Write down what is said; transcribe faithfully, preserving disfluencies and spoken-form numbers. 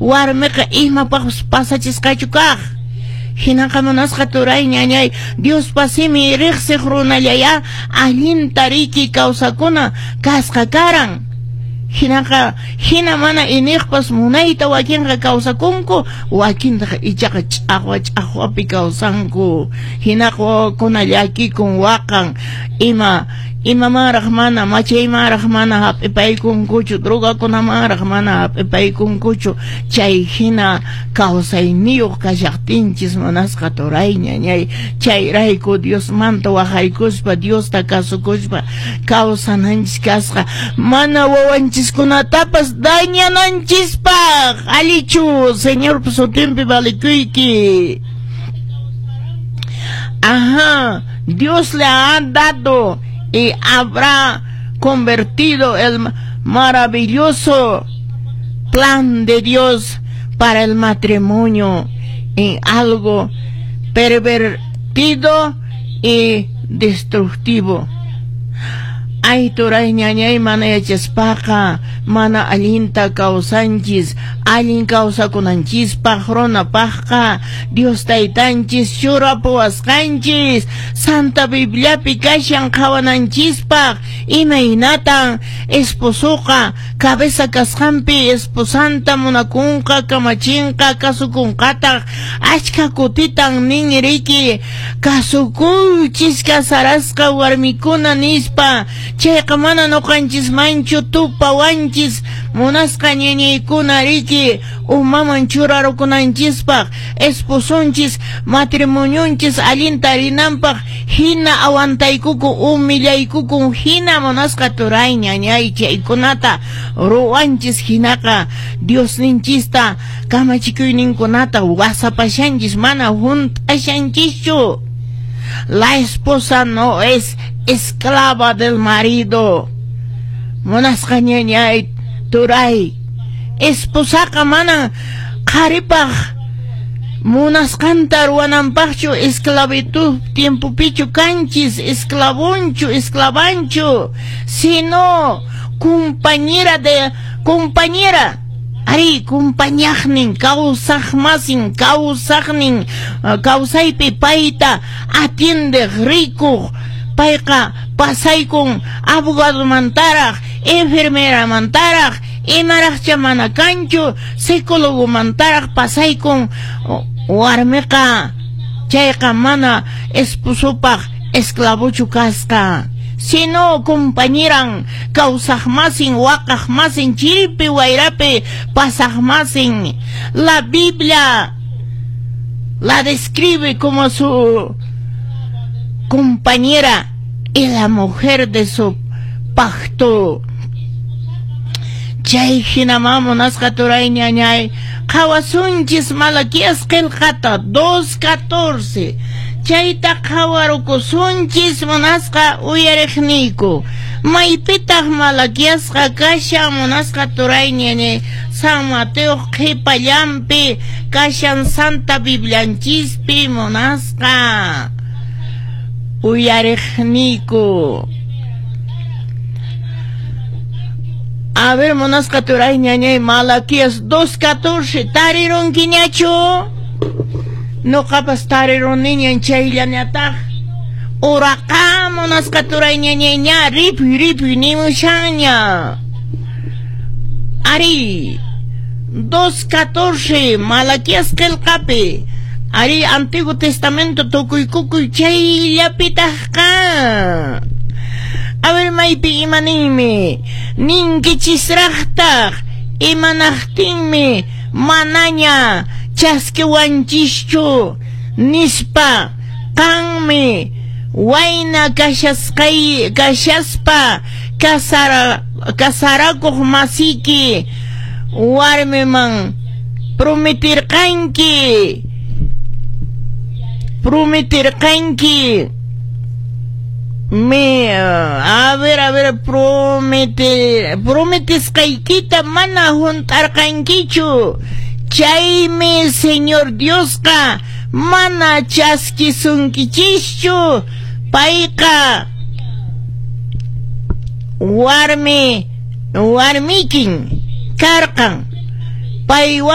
Warmiqa imapaqpas pasachisqachu kaq. Hinaqa munasqa turay ñañay, Diospa simi riqsiq runallaya allinta riki kawsakuna kasqa karan. Hinaqa hina mana iniqpas munayta wakinqa kawsakunku, wakintaqa ichaqa ch'aqwa ch'aqwapi kawsanku. Hinaqa wawakuna llakikun waqan, ima imamanraq mana machaymanraq mana hap'ipaykunkuchu, drogakunamanraq mana hap'ipaykunkuchu. Chay hina kawsayniyuq kashaqtinchis munasqa turay ñañay, chayrayku Diosmanta waqaykuspa Diosta kasukuspa kawsananchis kasqa, mana wawanchiskunatapas dañananchispaq. Allichu Señorpa sutinpi valikuyki. Ajá, Dios le ha dado y habrá convertido el maravilloso plan de Dios para el matrimonio en algo pervertido y destructivo. Ay, turay ñañay, mana yachaspaqa mana allinta kawsanchis. Allin kawsakunanchispaq runapaqqa Dios taytanchis churapuwasqanchis Santa Bibliapi kashan qhawananchispaq imaynatan esposoqa cabeza kasqanpi esposanta munakunqa, kamachinqa, kasukunqataq. Achka kutitan nin riki kasukuychis kasarasqa warmikuna nispa. Chayqa mana nuqanchismanchu tupawanchis munasqa ñañaykuna riki umaman churarukunanchispaq esposonchis matrimonionchis allinta rinanpaq hina aguantaykukun humillaykukun hina munasqa turay ñañay chaykunata ruwanchis. Hinaqa Diosninchista kamachikuyninkunata wasapashanchis, mana hunt'ashanchischu. La esposa no es esclava del marido. Munasqa ñañay turay, esposaqa mana qharipaq munasqanta ruwananpaqchu esclavitud tiempopichu kanchis, esclavonchu, esclavanchu, sino compañera de compañera. Ari, compañaqnin, kawsaqmasin, kawsaqnin, kawsaypi payta atiendeq, rikuq. Payqa pasaykun abogadomantaraq, enfermeramantaraq, imaraqcha mana kanchu, psicólogomantaraq pasaykun warmiqa. Chayqa mana esposopaq esclavochu kasqa, sino compañeran, kawsaqmasin, waqaqmasin, chiripi wayrapi pasaqmasin. La Biblia la describe como su compañera y la mujer de su pacto. Chay hinaman munasqa turay ñañay qhawasunchis Malaquías qillqata dos catorce. Chayta qhawarukusunchis munasqa uyariqniyku. Maypitaq Malaquiasqa kashan munasqa turay ñañay? San Mateo qhipallanpi kashan Santa Biblianchispi munasqa uyariqniyku. A ver, munasqa turay ñañay, Malaquías dos catorce, tarirunkiñachu? Nuqapas tariruniñan chayllañataq. Uraqa munasqa turay ñañay ña ripuy ripuy nimushanña. Ari, dos catorce, Malaquías qillqapi. Ari, Antiguo Testamento tukuykukuy chayllapitaqqa. A ver, maypi imaninmi? Ninkichisraqtaq imanaqtinmi manaña chaskiwanchischu nispa. Qanmi wayna kashasqay kashaspa kasara kasarakuq masiki warmiman prometirqanki prometirqanki me a ver a ver promete prometisqaykita mana hunt'arqankichu. Chaymi Señor Diosqa mana chaskisunkichischu. Payqa warmi warmikin karqan. Paywan